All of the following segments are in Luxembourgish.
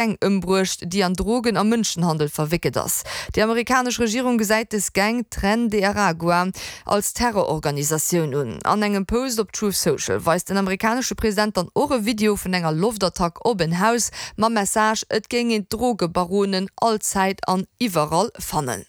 Gang ëmbruecht, déi an Drogen a Mënschenhandel verwéckelt ass. Déi amerikanesch Regierung gesäit dës Gang, Tren de Aragua, als Terrororganisatioun un. An engem Post op Truth Social weist den amerikanesche President dann och e Video vun enger Loftattack op en Haus mam Message, et géing een d'Drogebaronen allzäit an iwwerall fannen.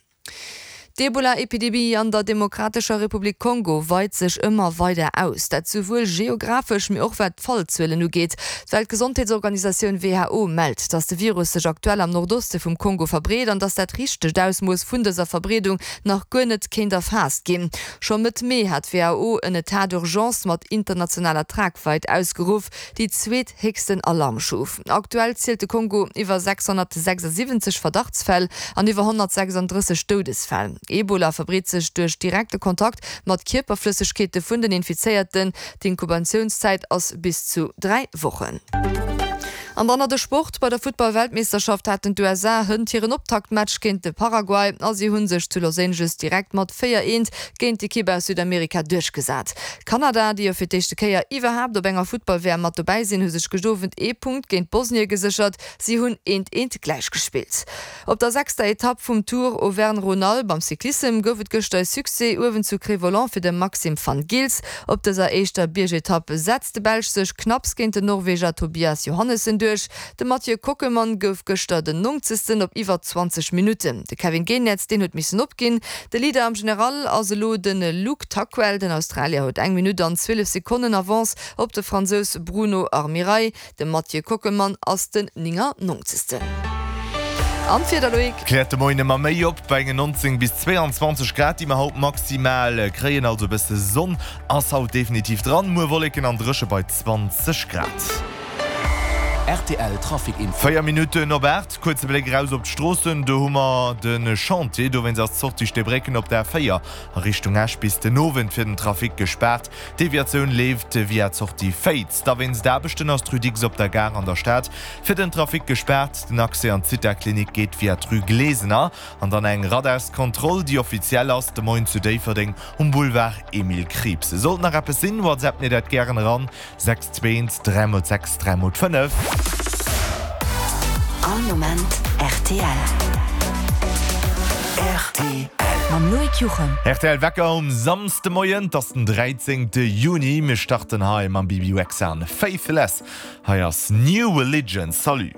D'Ebola-Epidemie an der Demokratescher Republik Kongo weit sech ëmmer weider aus. Dat souwuel geographesch, mee och wat d'Fallzuelen ugeet. D'Weltgesondheetsorganisatioun who mellt, datt de Virus sech aktuell am Nordoste vum Kongo verbreet an datt dat richtegt Ausmooss vun dëser Verbreedung nach guer net kéint erfaasst ginn. Scho Mëtt Mee hat d'WHO en Etat d'urgence mat internationaler Tragweit ausgeruff, déi zweet héchsten Alarmstuf. Aktuell zielt de Kongo iwwer 676 Verdachtsfäll an iwwer 136 Doudesfäll. Ebola verbreet sech duerch direkte Kontakt mat Kierperflëssegkeete vun den Infizéierten. D'Inkubatiounszäit ass bis zu 3 Wochen. An dann nach de Sport, Bei der Futtball-Weltmeeschterschaft haten d'USA hënt hiren Optaktmatch géint de Paraguay a si hu sech zu Los Angeles direkt mat 4, 1 géint d'Ekipp aus Südamerika duerchgesat. Kanada, déi jo fir d'éischte Kéier iwwerhaapt op enger Futtball-WM mat dobäi sinn, hu sech gëscht Owend ee Punkt géint Bosnie geséchert. Si hunn eent eent gläichgespillt. Op der sechster Etapp vum Tour Auvergne-Rhône-Alpes am Cyclissem gouf et gëschter e Succès uewen zu Cré-Volant fir de Maxim Van Gils. Op dëser éischter Biergetapp setzt de Belsch sech knapps géint den Norweger Tobias Johannessen duerch. De Mathieu Kockelmann gouf gëschter den Nongzegsten op iwwer 20 Minutten. De Kevin Geniets, deen huet missen opginn. De Leader am General ass elo de Luke Tuckwell. Den Australier huet eng Minutt an 12 Sekonnen Avance op de Fransous Bruno Armirail. De Mathieu Kockelmann ass den 99. An d'Wieder, Loïc? Kläert de Moien ëmmer méi op, bei engen 19 bis 22 Grad, déi mer haut maximal kréien. Also e bësse Sonn ass haut definitiv dran. Muer Wolleken an dréche bei 20 Grad. Rtl Trafic Info. 4 Minutten op 8, kuerze Bléck eraus op d'Stroossen. Do hu mer de Chantier, dowéinst ass d'Sortie Steebrécken op der A4 a Richtung Esch bis den Owend fir den Trafic gespaart. D'Deviatioun leeft via d'Sortie Féiz. Da wéinst Aarbechten ass d'Rue Dicks op der Gare an der Stad fir den Trafic gespaart. Den Accès an d'Zitha-Klinik geet via d'Rue Glesener. An dann eng Radarskontroll, déi offiziell ass, de Moien zu Déifferdeng um Boulevard Emile Krieps. Sollt nach eppes sinn, WhatsApp mir dat gären eran, 6 2 1 3 x 6 3 x 5. All Moment rtl. Rtl. Mam Loïc Juchem. Rtl Wecker um Samsdemoien, 't ass den 13 Juni. Mir starten hei mam Bibi Rexa an Faithless. Hei ass New Religion. Salut.